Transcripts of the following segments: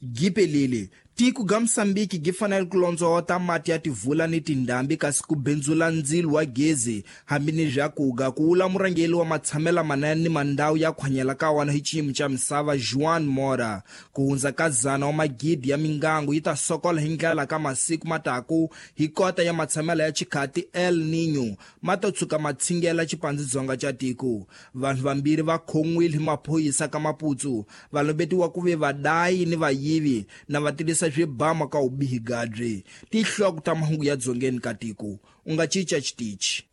Gipelile tiko ga Mosambiki gi fanele ku londzota mati ya tivula ni tindhambi kasi ku bindzula ndzilo wa gezi hambi ni byakuga ku wula murhangeri wa matshamela manene ni mandhawu ya khwanyela ka wona hi xiyimo xa misava Juan Mora. Ku hundza ka 100 wa magidi ya mingangu yi ta sokola hi ndlela ka masiku mataku hi kota ya matshamela ya xikhati El Niño ma to tshuka ma tshingela xipandzidzonga xa tiko. Vanhu vambirhi va khon'wile hi maphorisa ka Maputo va lombetiwa ku ve vadayi ni vayivi na va tirhisa swibama ka ubihi gadri. Tihloko ta mahungu ya dzongeni ka tiko. U nga cinca xitichi.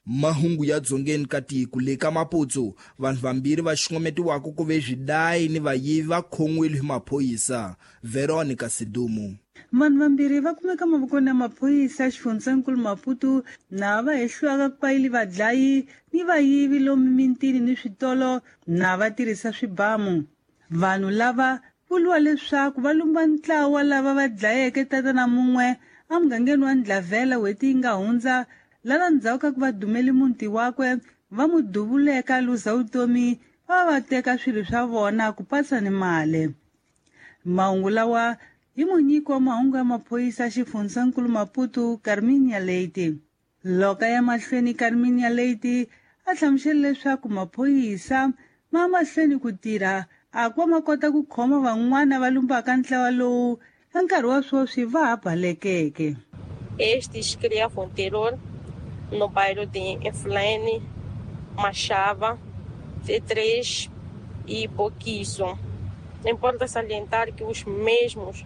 Mahungu ya dzongeni ka tiko le ka Maputo vanhu vambirhi va xungometiwaka ku ve swidayi ni vayivi va khon'wile hi maphorisa. Veronica Sidumo. Vanhu vambirhi va kumeka mavokweni ya maphorisa xifundzankulu Maputo na va hehliwaka ku payili vadlayi ni vayivi lomu mintini ni switolo na va tirhisa swibamu. Vanhu lava vuriwa leswaku va lumba ntlawa lava va dlayeke tatana mun'we emugangeni wa Ndlavela n'hweti yi nga hundza lava ndzhaku ka ku va dumele muti wakwe va n'wi duvuleka luza vutomi va va teka swilo swa vona ku patsa ni mali. Mahungu lawa hi munyiki wa mahungu ya maphorisa xifundzankulu Maputo Carminia Leite. Loko ya mahlweni Carminia Leite a hlamusela leswaku maphorisa ma mahlweni ku tirha a ku va ma kota ku khoma van'wana va lumbaka ntlawa lowu ka nkarhi wa sweswi va ha balekeke. Estes criavam terror no bairro de Inflene, Machava, T3 e Boquizo. Importa salientar que os mesmos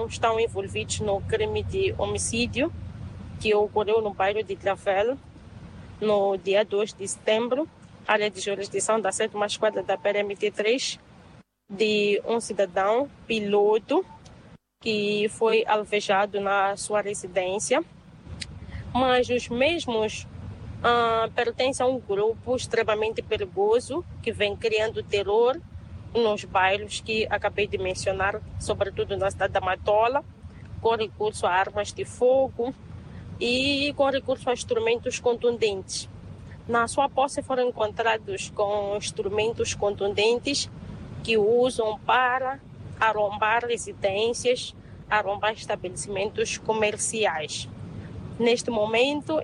estão envolvidos no crime de homicídio que ocorreu no bairro de Travel no dia 2 de setembro, área de jurisdição da 7ª Esquadra da PRMT3, de um cidadão piloto que foi alvejado na sua residência, mas os mesmos pertencem a um grupo extremamente perigoso que vem criando terror nos bairros que acabei de mencionar, sobretudo na cidade da Matola, com recurso a armas de fogo e com recurso a instrumentos contundentes. Na sua posse foram encontrados com instrumentos contundentes que usam para arrombar residências, arrombar estabelecimentos comerciais. Neste momento,